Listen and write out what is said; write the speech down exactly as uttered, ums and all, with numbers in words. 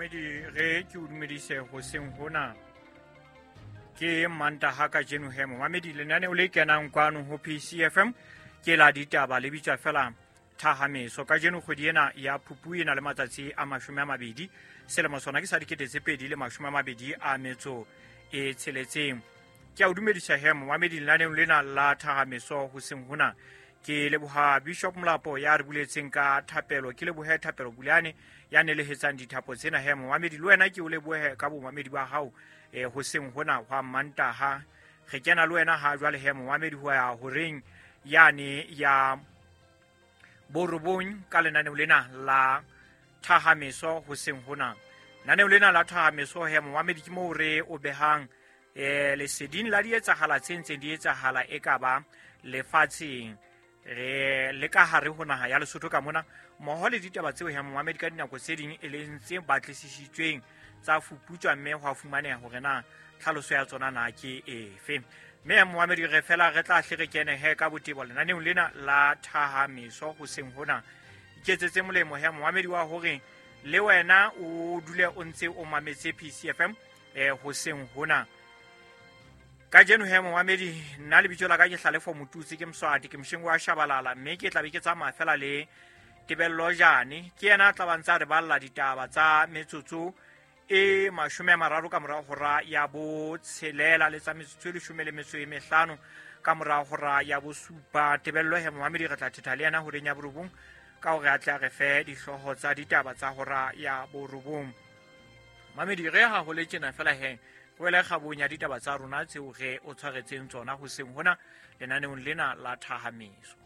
Momamedi, re ke o dumedise hoseng hona. Ke Mantaha kajeno he momamedi, lenaneo le kenang kwano ho P C F M ke la ditaba le bitswa fela Thahameso. Kajeno kgwedi ena ya Phupu e na le matsatsi a mashome a mabedi, selemo sona ke sa dikete tse pedi le mashome a mabedi a metso e tsheletseng. Ke a o dumedisa he momamedi lenaneong lena la Thahameso hoseng hona. Ke leboha Bishop Molapo ya re buletseng ka thapelo, ke lebohe Thapelo Bulane ya nelehetsang dithapo tsena he momamedi. Le wena ke o lebohe ka bomamedi ba hao eh hoseng hona hwa Mantaha. Re kena le wena ha jwale he momamedi ho ya horeng yane ya borobong ka lenaneo lena la Thahameso hoseng hona. Lenaneo lena la Thahameso he momamedi ke moo re o behang eh leseding la dietsahala tse ntseng di etsahala e ka ba lefatsheng re le ka hare ho naha ya Lesotho ka mona, mmoho le ditaba tseo he momamedi ka dinako tse ding e leng tse batlisisitsweng tsa fuputswa mme ho a fumaneha hore na tlhaloso ya tsona na ke efe. Mme momamedi re fela re tla hle re kene he ka botebo lenaneong lena la Thahameso hoseng hona. Iketsetse molemo he momamedi wa hore le wena o dule o ntse o mametse P C F M eh hoseng hona. Kajeno he momamedi, nna lebitso la ka ke Hlalefo Motutsi, ke Mswati, ke mosheng wa Shabalala, mme ke tla be ke tsamaya fela le Tebello Jane. Ke yena a tla ba ntse a re balla ditaba tsa metsotso e mashome a mararo ka mora hora ya botshelela le tsa metsotso e leshome le metso e mehlano ka mora hora ya bosupa. Tebello he momamedi re tla thetha le yena horeng ya borobong ka hore a tle a re fe dihlooho tsa ditaba tsa hora ya borobong. Mamedi, re ha ho le tjena fela he wele kgabong ya ditaba tsa rona tseo re o tshwaretseng tsona hoseng hona lenaneong lena la Thahameso.